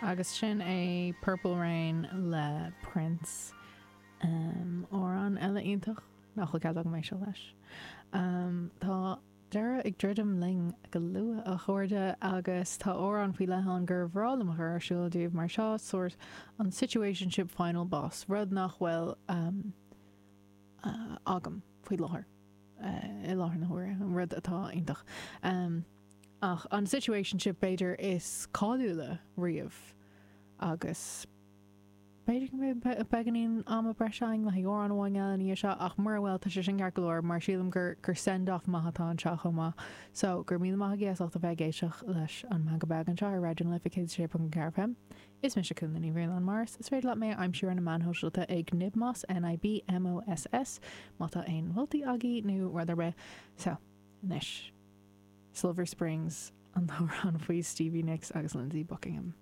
Agus sin é Purple Rain le Prince. Amhrán eile iontach nach bhfuil cead agam éisteacht leis. Tá deireadh ag druidim linn go luath, a chairde, agus tá amhrán faoi leith ann gur bhreá liom a chur ar siúl daoibh mar seo, sórt an situationship final boss, rud nach bhfuil agam faoi láthair, i láthair na huaire, rud atá iontach. Ach an situationship b'fhéidir is cáiliúla riamh agus b'fhéidir go mbeidh beagáinín ama breise againn le haghaidh amhrán amháin eile ina dhiaidh seo ach mura bhfuil tá sé sin ceart go leor mar sílim gur gur send off maith atá anseo chomh maith. So, go raibh míle maith agaibh as ucht a bheith ag éisteacht leis an Meangadh Beag anseo ar Raidió na Life 106.4 FM. Is mise Cúnla Ní Bhraonáin Morris. Is féidir leat mé a aimsiú ar na meáin shóisialta ag Nibmoss, N-I-B-M-O-S-S, má tá aon mholtaí agaibh nó rud ar bith. So, anois. Silver Springs, an t-amhrán faoi Stevie Nicks agus Lindsey Buckingham.